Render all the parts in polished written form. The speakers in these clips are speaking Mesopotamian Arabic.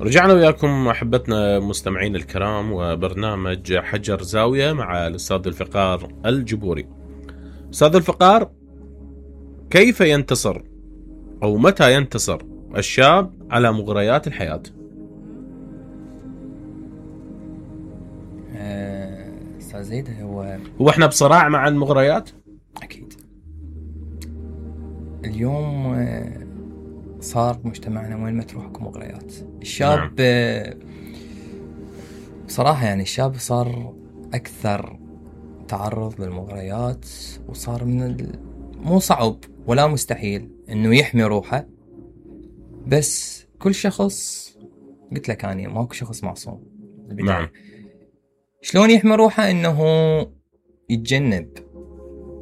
رجعنا وياكم أحبتنا مستمعين الكرام وبرنامج حجر زاوية مع الأستاذ الفقار الجبوري. أستاذ الفقار، كيف ينتصر أو متى ينتصر الشاب على مغريات الحياة؟ أستاذ زيد، هو احنا بصراع مع المغريات؟ أكيد. اليوم صار مجتمعنا وين ما تروح اكو مغريات. الشاب بصراحة يعني الشاب صار أكثر تعرض للمغريات، وصار مو صعب ولا مستحيل إنه يحمي روحه، بس كل شخص قلت لك أنا ماكو شخص معصوم. نعم. شلون يحمي روحه؟ إنه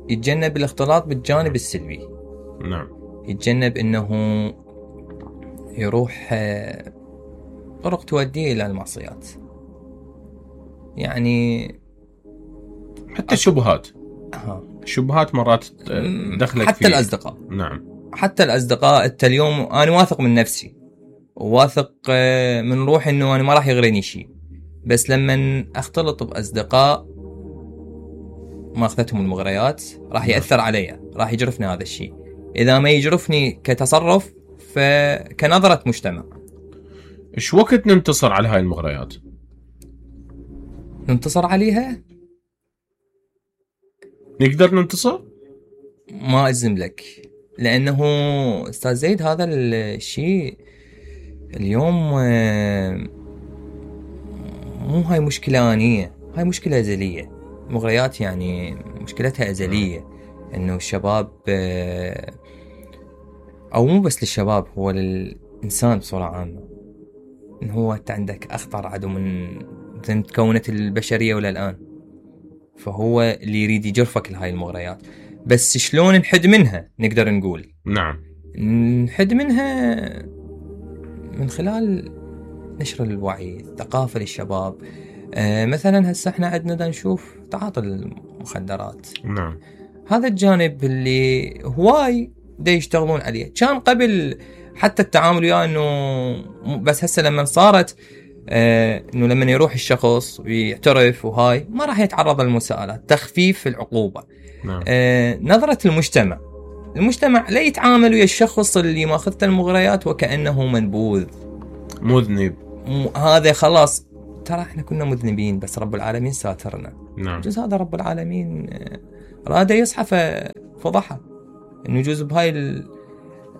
يتجنب الاختلاط بالجانب السلبي. نعم. يتجنب إنه يروح طرق توديه إلى المعصيات، يعني حتى الشبهات. الشبهات مرات دخلك حتى فيه. الأصدقاء. نعم. حتى الأصدقاء. أنت اليوم أنا واثق من نفسي وواثق من روحي إنه أنا ما راح يغريني شيء، بس لما أختلط بأصدقاء ما أخذتهم المغريات راح يأثر علي، راح يجرفني هذا الشيء. إذا ما يجرفني كتصرف فكنظرة مجتمع. إيش وقت ننتصر على هاي المغريات؟ ننتصر عليها؟ نقدر ننتصر؟ ما أجزم لك، لأنه أستاذ زيد هذا الشيء اليوم مو هاي مشكلة آنية، هاي مشكلة أزلية. المغريات يعني مشكلتها أزلية، إنه الشباب أو مو بس للشباب، هو للإنسان بصورة عامة، إنه هو أنت عندك أخطر عدو من تكونت البشرية ولا الآن، فهو اللي يريد يجرفك لهاي المغريات. بس شلون نحد منها؟ نقدر نقول نعم نحد منها من خلال نشر الوعي، الثقافة للشباب. مثلا هسه احنا عندنا نشوف تعاطي المخدرات. نعم. هذا الجانب اللي هواي دا يشتغلون عليه. كان قبل حتى التعامل وياه انه بس هسه لما صارت انه لما يروح الشخص ويعترف وهاي ما راح يتعرض للمساءلات، تخفيف العقوبة. نعم. نظرة المجتمع لا يتعامل ويا الشخص اللي ماخذته المغريات وكأنه منبوذ مذنب. هذا خلاص، ترى احنا كنا مذنبين بس رب العالمين ساترنا. نعم. جزء هذا رب العالمين راد يصحف فضحه، انه يجوز بهاي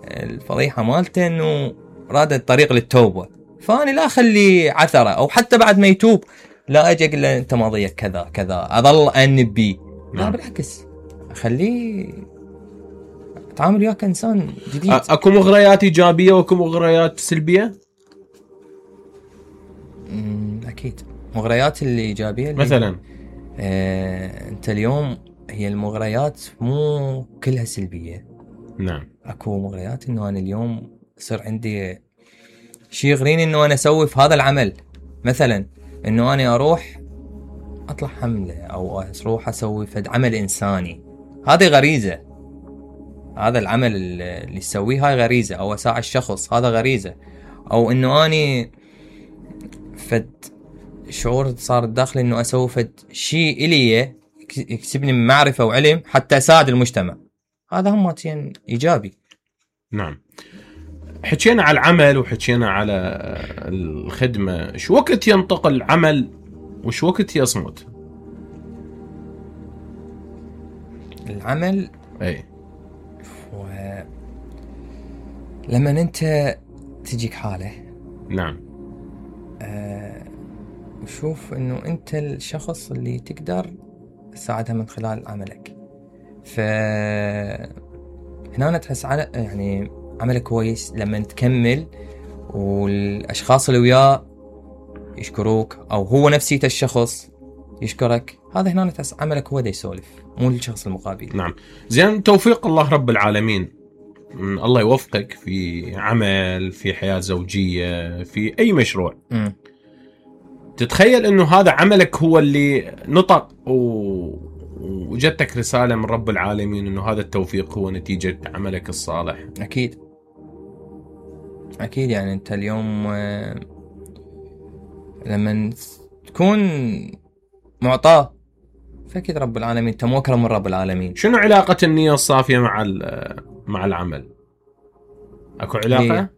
الفضيحة مالته انه راد الطريق للتوبة، فاني لا اخلي عثرة، او حتى بعد ما يتوب لا اجي اقول له انت ماضيك كذا كذا اظل انبي. لا بالعكس، اخليه اتعامل وياه كإنسان جديد. اكو مغريات ايجابية واكو مغريات سلبية. اكيد مغريات الايجابية مثلا انت اليوم هي المغريات مو كلها سلبية. نعم. اكو مغريات انه انا اليوم يصير عندي شيء يغريني انه انا اسوي في هذا العمل، مثلا انه انا اروح اطلع حملة او اروح اسوي في عمل انساني. هذه غريزة، هذا العمل اللي يسويه هاي غريزة، او اساعد الشخص هذا غريزة، او انه اني فد شعور صار داخلي انه اسوي فد شيء الي يكسبني من معرفة وعلم حتى اساعد المجتمع. هذا هم ايجابي. نعم. حكينا على العمل وحكينا على الخدمة، شو وقت ينتقل العمل وشو وقت يصمت؟ العمل اي لما انت تجيك حالة. نعم. وشوف انه انت الشخص اللي تقدر تساعدها من خلال عملك، هنا تحس على يعني عملك كويس لما تكمل والاشخاص اللي وياه يشكروك، او هو نفسيته الشخص يشكرك. هذا هنا تحس عملك هو دا يسولف، مو الشخص المقابل. نعم. زين، توفيق الله رب العالمين، الله يوفقك في عمل، في حياة زوجية، في اي مشروع. تتخيل انه هذا عملك هو اللي نطق وجدتك رسالة من رب العالمين انه هذا التوفيق هو نتيجة عملك الصالح؟ اكيد يعني انت اليوم لما تكون معطاه فأكيد رب العالمين أنت موكل من رب العالمين. شنو علاقة النية الصافية مع العمل؟ أكو علاقة؟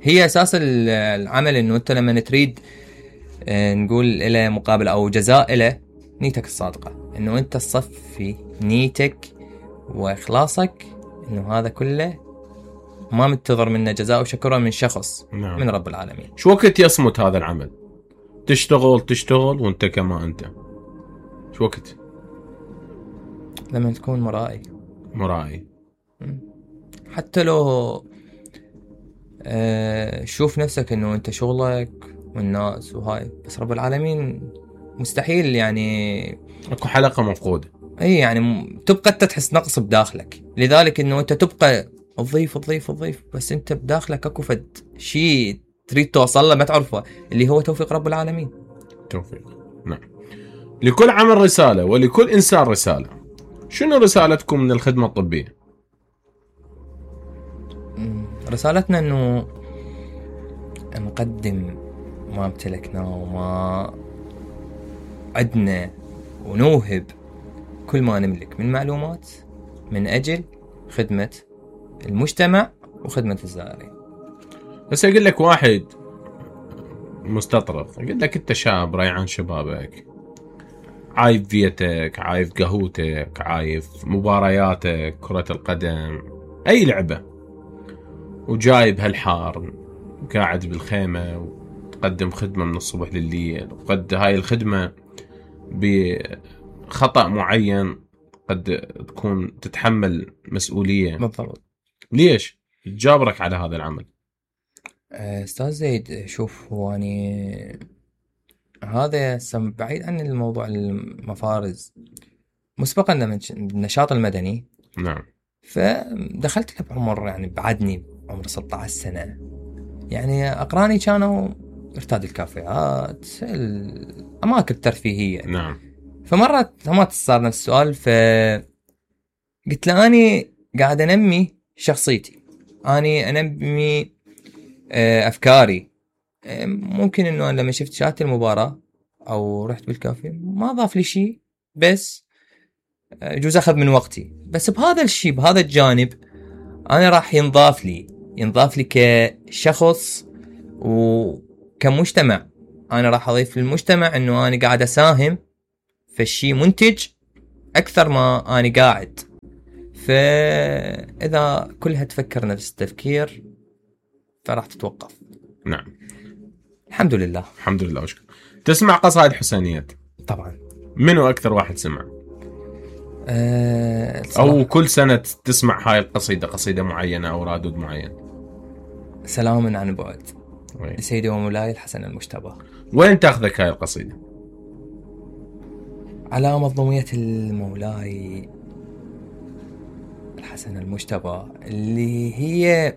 هي أساس العمل، إنه أنت لما تريد نقول إلى مقابل أو جزاء إلى نيتك الصادقة، إنه أنت تصفي نيتك وإخلاصك، إنه هذا كله ما منتظر منه جزاء وشكرا من شخص. نعم. من رب العالمين. شو وقت يصمت هذا العمل؟ تشتغل وانت كما انت، شو وقت؟ لما تكون مرائي حتى لو شوف نفسك انه انت شغلك والناس وهاي، بس رب العالمين مستحيل يعني اكو حلقة مفقودة. اي يعني تبقى انت تحس نقص بداخلك، لذلك انه انت تبقى تضيف بس انت بداخلك اكو فد شيء تريد توصل له ما تعرفه، اللي هو توفيق رب العالمين. توفيق. نعم. لكل عمل رسالة ولكل إنسان رسالة. شنو رسالتكم من الخدمة الطبية؟ رسالتنا انه نقدم ما امتلكناه وما عدنا، ونوهب كل ما نملك من معلومات من أجل خدمة المجتمع وخدمة الزائرين. بس أقول لك واحد مستطرف، أقول لك أنت شاب ريعان شبابك، عايف فيتك، عايف قهوتك، عايف مبارياتك كرة القدم أي لعبة، وجايب هالحار قاعد بالخيمة وتقدم خدمة من الصبح لليل، وقد هاي الخدمة بخطأ معين قد تكون تتحمل مسؤولية. بالضبط. ليش تجابرك على هذا العمل؟ أستاذ زيد، شوف هو يعني هذا بعيد عن الموضوع المفارز. مسبقا لما النشاط المدني، نعم، فدخلت له بعمر يعني بعدني عمر 16 سنة، يعني أقراني كانوا ارتاد الكافيهات الأماكن الترفيهية. نعم. فمرة ما صار نفس السؤال، فقلت له أني قاعد أنمي شخصيتي، أني أنمي أفكاري. ممكن إنه لما شفت شاهدت المباراة أو رحت بالكافيه ما ضاف لي شيء، بس يجوز أخذ من وقتي، بس بهذا الشيء بهذا الجانب أنا راح ينضاف لي كشخص وكمجتمع. أنا راح أضيف للمجتمع إنه أنا قاعد أساهم في الشيء منتج أكثر ما أنا قاعد. فإذا كلها تفكر نفس التفكير فراح تتوقف. نعم. الحمد لله. الحمد لله وشكرا. تسمع قصائد حسينيات؟ طبعا. منو أكثر واحد سمع؟ أو كل سنة تسمع هاي القصيدة، قصيدة معينة أو رادود معين؟ سلام عن بعد لسيدي ومولاي الحسن المجتبى. وين تاخذك هاي القصيدة؟ على مظلومية المولاي الحسن المجتبى، اللي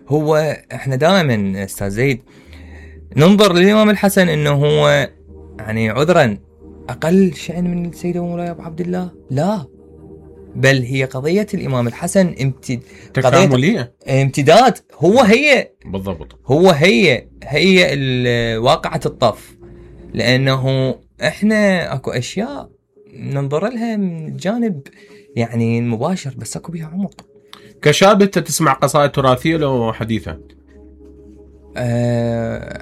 هو احنا دائما استاذ زيد ننظر للإمام الحسن انه هو يعني عذرا اقل شأن من السيد ومولاي ابو عبد الله، لا، بل هي قضية الإمام الحسن تكاملية، امتداد. هي بالضبط، هي واقعة الطف، لأنه إحنا أكو أشياء ننظر لها من الجانب يعني المباشر، بس أكو بها عمق. كشاب أنت تسمع قصائد تراثية لو حديثة؟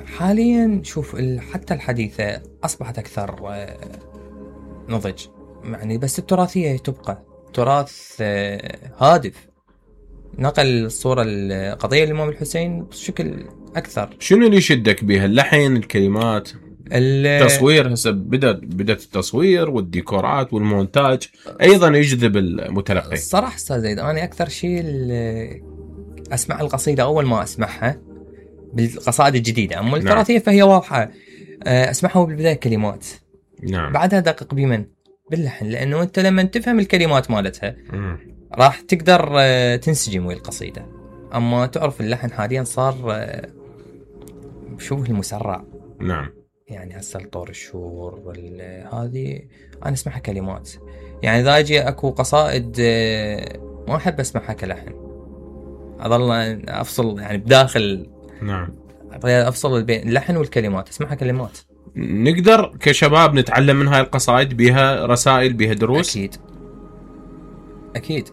حاليا شوف حتى الحديثة أصبحت أكثر نضج يعني، بس التراثية تبقى تراث هادف، نقل الصورة القضية للإمام الحسين بشكل أكثر. شنو اللي يشدك بها؟ اللحن، الكلمات، التصوير؟ هسه بدأت التصوير والديكورات والمونتاج أيضا يجذب المتلقي. الصراحة أستاذ زيد أنا أكثر شيء أسمع القصيدة أول ما أسمعها بالقصائد الجديدة. أما التراثية فهي واضحة، أسمعها بالبداية كلمات، نعم، بعدها دقق بمن باللحن، لأنه أنت لما تفهم الكلمات مالتها راح تقدر تنسجم ويا القصيدة. أما تعرف اللحن حاليا صار شبه المسرع. نعم، يعني هسه الطور الشور هذه أنا أسمعها كلمات، يعني إذا أجي أكو قصائد ما أحب أسمعها كلحن، أظل أفصل يعني بداخل. نعم، افصل بين اللحن والكلمات، اسمعها كلمات. نقدر كشباب نتعلم من هاي القصائد، بيها رسائل، بيها دروس؟ اكيد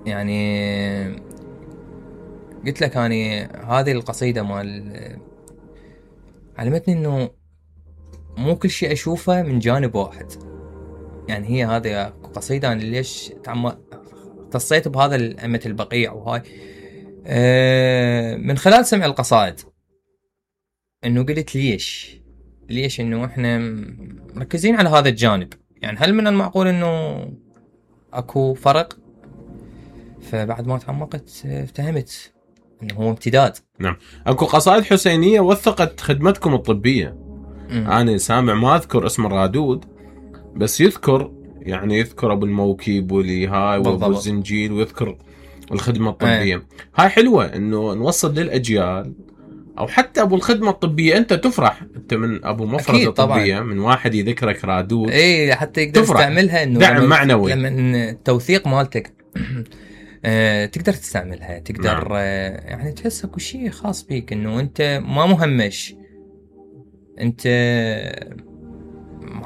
يعني قلت لك اني هذه القصيده مال علمتني انه مو كل شيء اشوفه من جانب واحد. يعني هي هذه قصيده انا ليش اتصيت بهذا الأمة البقيع وهاي من خلال سمع القصائد، انه قلت ليش انه احنا مركزين على هذا الجانب. يعني هل من المعقول انه اكو فرق؟ فبعد ما تعمقت فهمت انه هو امتداد. نعم. اكو قصائد حسينيه وثقت خدمتكم الطبيه. انا سامع ما اذكر اسم الرادود، بس يذكر ابو الموكب ولي هاي وابو الزنجيل، ويذكر الخدمه الطبيه. هاي حلوه انه نوصل للاجيال، او حتى ابو الخدمه الطبيه انت تفرح انت من ابو مفرزه طبيه من واحد يذكرك رادود، حتى يقدر يستعملها انه دعم معنوي. لما التوثيق مالتك تقدر تستعملها، تقدر يعني تحس اكو شيء خاص بيك، انه انت ما مهمش، انت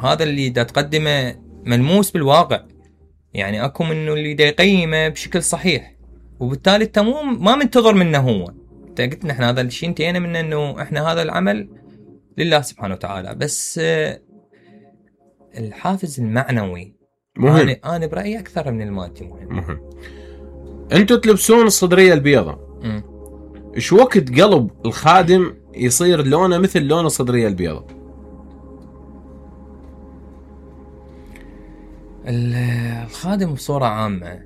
هذا اللي دا تقدمه ملموس بالواقع. يعني اكو منه اللي دا يقيمه بشكل صحيح، وبالتالي انت ما منتظر منه هو. انت قلت نحن هذا الشيء انتهينا منه، انه احنا هذا العمل لله سبحانه وتعالى، بس الحافز المعنوي مهم. انا برايي اكثر من المادي مهم. انتوا تلبسون الصدريه البيضاء، ايش وقت قلب الخادم يصير لونه مثل لون الصدريه البيضاء؟ الخادم بصوره عامه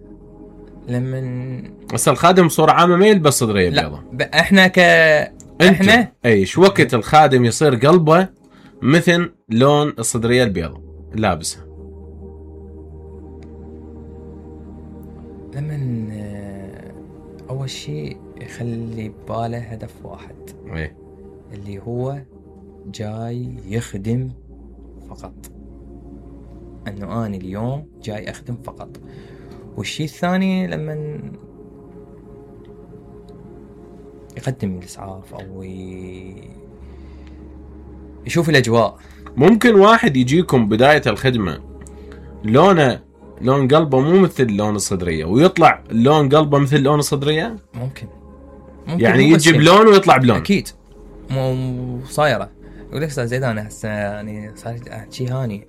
لما بس الخادم بصوره عامه ما يلبس صدريه بيضاء. احنا احنا ايش وقت الخادم يصير قلبه مثل لون الصدريه البيضاء لابسها؟ لما اول شيء يخلي بباله هدف واحد، اللي هو جاي يخدم فقط، انه انا اليوم جاي اخدم فقط. والشيء الثاني لما يقدم الاسعاف او يشوف الاجواء. ممكن واحد يجيكم بدايه الخدمه لون قلبه مو مثل لون الصدريه، ويطلع لون قلبه مثل لون الصدريه. ممكن يعني يجي بلون ويطلع بلون. اكيد مو صايره. يقول لك استاذ زيد انا هسه يعني صار شيء هاني،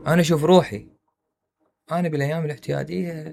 انا اشوف روحي انا بالايام الاعتياديه